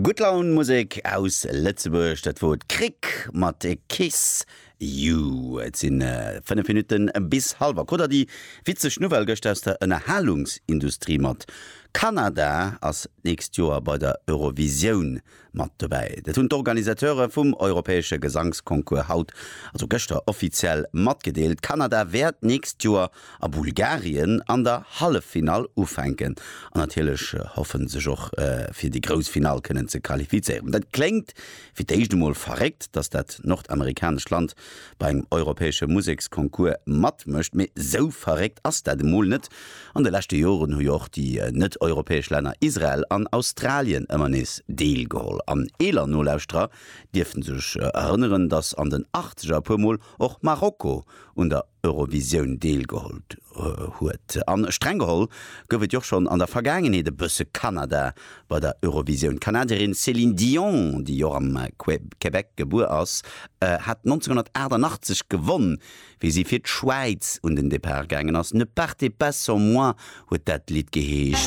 Gutt Laun Musek aus Lëtzebuerg, dat wor d'Krick mat Kiss You. Et sinn 5 Minutten bis hallwer. Krut der déi witzeg Nouvelle gëscht aus der Ënnerhalungsindustrie mat? Kanada ass d'nächst Joer bei der Eurovisioun mat dobäi. Dat hunn d'Organisateure vum europäesche Gesangsconcours haut, also gëschter, offiziell matgedeelt. Kanada wäert d'nächst Joer a Bulgarien an der Halleffinall ufänken an natierlech hoffen sech och fir déi grouss Finall kënnen ze qualifizéieren. Dat kléngt fir d'éischt emol verréckt, datt dat nordamerikanescht Land bei engem europäesche Museksconcours matmécht, mee sou verréckt ass dat emol net. An de leschte Joren hu jo och déi net-europäesch Länner Israel an Australien ëmmer nees deelgeholl. An eeler Nolauschterer dierften sech erënneren, datt an den Achtzeger e puer Mol och Marokko un der Eurovisioun deelgeholl huet. An streng geholl gouf et jo och schonn an der Vergaangenheet e bësse Kanada bei der Eurovisioun. D'Kanadierin Céline Dion, déi och am Québec gebuer ass, hat 1988 gewonn, wéi si fir d'Schwäiz un den Depart gaangen ass. Ne partez pas sans moi huet dat Lidd geheescht.